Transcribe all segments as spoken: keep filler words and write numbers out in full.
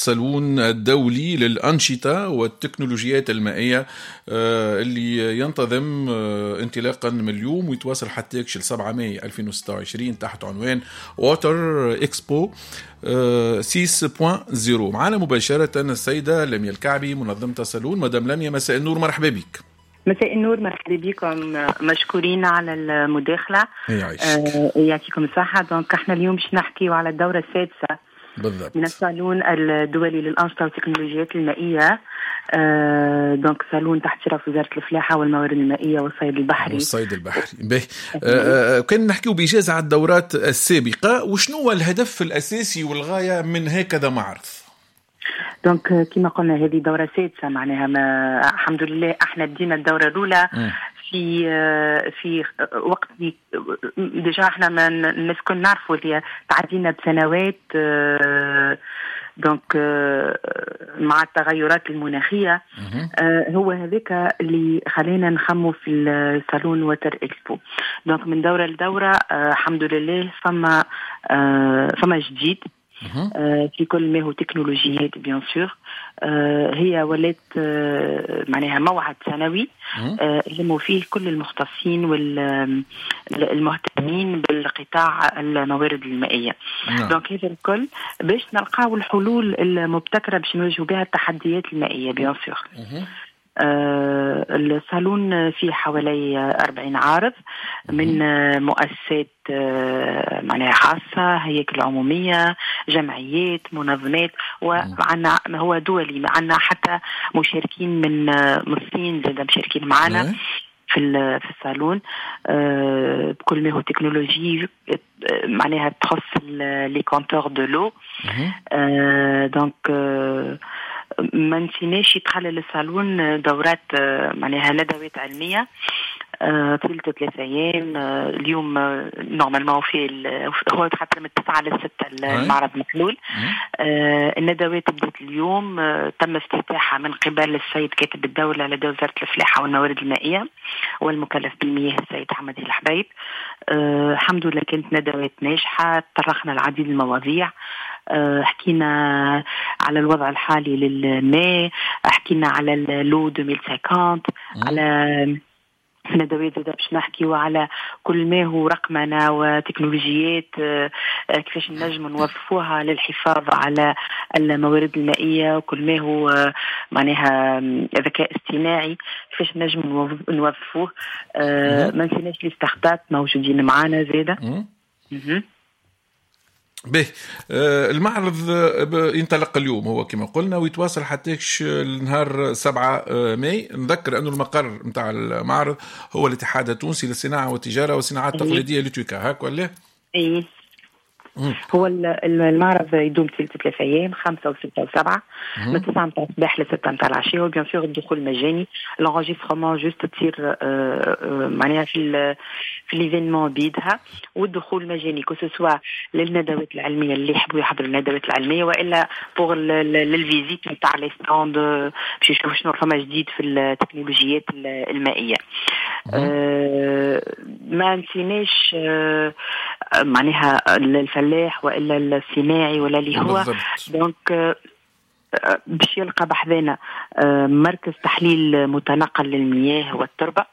الصالون الدولي للأنشطة والتكنولوجيات المائية آه، اللي ينتظم آه، انطلاقا من اليوم ويتواصل حتى يكشل سبعة ماي ألفين وستة وعشرين تحت عنوان Water Expo ستة نقطة صفر. معنا مباشرة السيدة لميا الكعبي، منظمة الصالون. مدام لميا، مساء النور، مرحبا بك. مساء النور، مرحبا بكم، مشكورين على المداخلة. يعيشك. آه يعطيكم الصحة. donc احنا اليوم باش نحكيو على الدورة السادسة بالضبط من الصالون الدولي للأنشطة والتكنولوجيات المائية، آه donc صالون تحت شرف وزارة الفلاحة والموارد المائية والصيد البحري. والصيد البحري. باهي، آه، آه، كان نحكيو بإيجاز على الدورات السابقة، وشنو هو الهدف الأساسي والغاية من هكذا معرض؟ donc كما قلنا هذه دورة سادسة، معناها ما الحمد لله احنا بدينا الدورة الأولى مم. في في وقت déjà احنا ما الناس كل نعرفوا اللي تعدينا بسنوات، آه، donc آه، مع التغيرات المناخية. مهم. آه، هو هذاك اللي خلينا نخمو في الصالون Water Expo. donc من دورة لدورة آه، الحمد لله فما آه، فما جديد مهم. آه، في كل ما هو تكنولوجيات bien sûr. هي ولات آه، معناها موعد سنوي مهم. آه، يلموا فيه كل المختصين والمهتمين بالقطاع الموارد المائية. نعم. donc هذا الكل باش نلقاو الحلول المبتكرة باش نواجهوا بها التحديات المائية bien sûr. مهم. آه، الصالون فيه حوالي أربعين عارض من آه، مؤسسات آه، معناها خاصة، هياكل عمومية، جمعيات، منظمات، وعندنا هو دولي، عندنا حتى مشاركين من آه، من الصين زاد مشاركين معنا نعم. في ال- في الصالون آه، بكل ما هو تكنولوجي آه، معناها تخص les compteurs de l'eau. مهم. donc آه، ما نسيناش يتخلل الصالون دورات آه، معناها ندوات علمية آه، طيلة ثلاثة أيام. آه، اليوم آه، normalement في ال- هو حتى من التسعة للستة المعرض محلول. مهم. آه، الندوات بدأت اليوم، آه، تم افتتاحها من قبل السيد كاتب الدولة لدى وزارة الفلاحة والموارد المائية والمكلف بالمياه السيد حمدي الحبيب. آه، الحمد لله كانت ندوات ناجحة، تطرقنا العديد من المواضيع، آه، حكينا على الوضع الحالي للماء، حكينا على l'eau ألفين وخمسين، على في ندوات زاد باش نحكيو على كل ما هو رقمنة وتكنولوجيات، آه، آه، كيفاش نجم نوظفوها للحفاظ على الموارد المائية، وكل ما هو آه، معناها آم، ذكاء اصطناعي كيفاش نجم نوظ- نوظفوه. آه، ما نسيناش les startups موجودين معانا زاده. مم. مهم. به آه، المعرض آه، ب- ينطلق اليوم هو كما قلنا ويتواصل حتى النهار سبعة آه، ماي. نذكر أنه المقر نتاع المعرض هو الاتحاد التونسي للصناعة والتجارة والصناعات التقليدية، l'UTICA، هاك ولا؟ اي، هو ال- ال- المعرض يدوم طيلة ثلاث ايام، خمسة وستة وسبعة، من تسعة نتاع الصباح ل ستة نتاع العشية، و bien sûr الدخول مجاني. l'enregistrement juste تصير آه، آه، معناها في ال في l'événement بيدها، والدخول مجاني que ce soit للندوات العلمية اللي يحبوا يحضروا الندوات العلميه، والا pour لل visite نتاع les stands باش يشوفوا شنو فما جديد في التكنولوجيات ال- المائيه. آه، ما نسيناش آه، معناها الفلاح والا الصناعي ولا اللي هو بالضبط. donc آه، باش يلقى بحذانا آه، مركز تحليل متنقل للمياه والتربه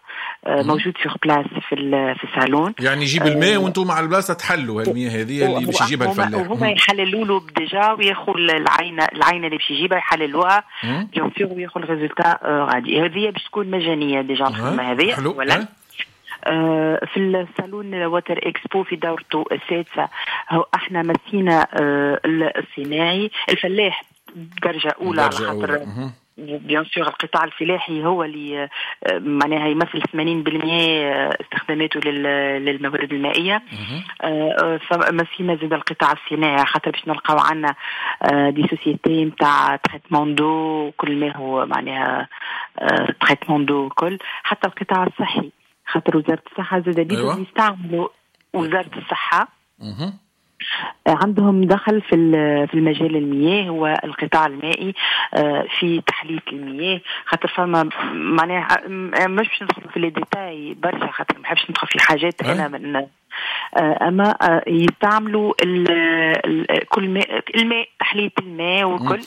آه، موجود sur place في ال- في الصالون. يعني يجيب الماء وانتم على البلاصة تحلوا المياه هذه اللي باش يجيبها هما- الفلاح. وهما يحللوا له déjà وياخذوا العينه العينه اللي باش يجيبها يحللوها مم. bien sûr وياخذ ال résultat غادي. هذه باش تكون مجانية déjà الخدمة هذه. حلو. ولا ها؟ آه، في الصالون Water Expo في دورته السادسه، هو احنا مسينا آه، الصناعي، الفلاح درجه اولى على درجة خاطر أولى. مهم. bien sûr القطاع الفلاحي هو اللي آه، معناها يمثل ثمانين بالمية استخداماته لل- للموارد المائيه. آه، فمسينا زاد القطاع الصناعي خاطر باش نلقاو عندنا des sociétés نتاع traitement d'eau، كل ما هو معناها traitement d'eau كل، حتى القطاع الصحي خاطر وزارة الصحة زاد بيدهم أيوة. يستعملوا، وزارة الصحة مهم. عندهم دخل في ال- في المجال المياه والقطاع المائي آه، في تحلية المياه، خاطر فما معناها م- مش باش ندخل في les détails برشا خاطر ما نحبش ندخل في حاجات أي. انا من آه، اما آه، يستعملوا ال- ال- كل ماء، الماء، تحلية الماء وكل.